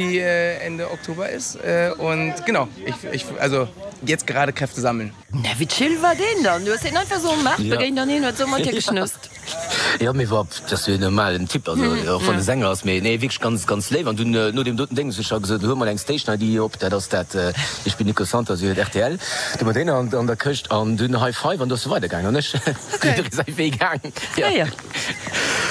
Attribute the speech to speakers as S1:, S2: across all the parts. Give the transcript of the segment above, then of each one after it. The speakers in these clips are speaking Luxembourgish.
S1: Die Ende Oktober ist und genau, ich, ich, also jetzt gerade Kräfte sammeln.
S2: Na wéi chill war deen dann? Du hues hien einfach sou um Maart begéint an hien huet sou mat dir geschnësst.
S3: Jo, mee war, dat ass jo en normalen Typ, also och wann e Sänger ass, mee nee wierklech ganz, ganz léif. An dunn no deem doten Déngs, ech ha gesot, huel mol eng Station ID op, dat ass dat, Ich bin Nico Santos, Dir huet rtl, du mat deene an der Këscht an dunn High Five an du ass e weidergaangen an ech sinn jidderee säi Wee gaang. Jo.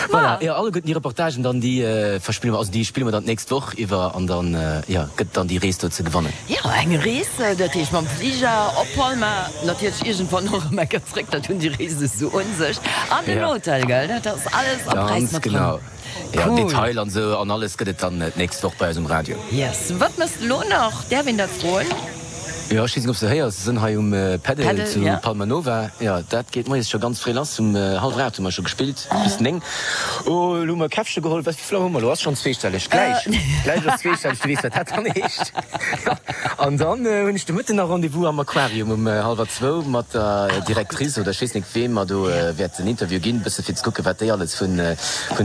S3: Voilà, jo, alleguerten déi Reportagen dann, déi verspille mer, also déi spille mer dann d'nächst Woch iwwer an dann, jo, gëtt et dann déi Rees do ze gewannen.
S2: Jo, eng Rees, dat heescht mam Fliger op Palma, natierlech iergendwann och erëm eng Kéier zréck, dat hunn déi Reese sou un sech, an den Hotel, gell, dat ass alles am Präis
S3: Ganz
S2: mat dran.
S3: genau, jo,
S2: Cool.
S3: Detail an esou an alles gëtt et dann d'nächst Woch bei eis um Radio.
S2: Yes, wat méchs de lo nach? Däerf een dat froen?
S3: Jo, ech weess net, ob s de héiers, se sinn hei um Pedal
S2: Pedal,
S3: zu
S2: ja.
S3: Palma Nova. Jo, dat geet moies scho ganz fréi lass. Um hallwer 8 hu mer scho gespillt, bis 9. Oh, elo hu mer e Käffche geholl. Wat, wéi vill Auer hu mer elo? Ass schonn zweestelleg. Gläich, gläich ass zweestelleg. Du weess, wat dat dann heescht. Jo, an dann hunn ech de Mëtten nach Rendez-vous am Aquarium um hallwer zwou mat der Directrice oder ech weess net, weem mer do wäerten Interview ginn, e bësse fir ze kucken, wat déi alles vun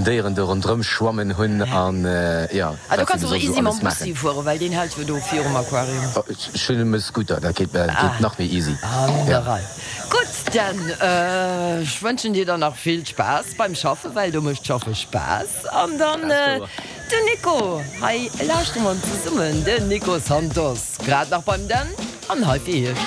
S3: Déieren do ronderëm schwammen hunn an, jo.
S2: Ah, do kanns du och easy mam Bussi fueren, well deen hält jo do virum Aquarium.
S3: Ech hunn e Scooter, dat geet nach méi easy.
S2: An der Rei. Gutt, dann ech wënschen dir dann nach vill Spaass beim Schaffen, well do mécht Schaffe Spaass. An dann den Nico, hei lauschtere mer en zesummen, den Nico Santos, grad nach beim Dan an hei fir iech.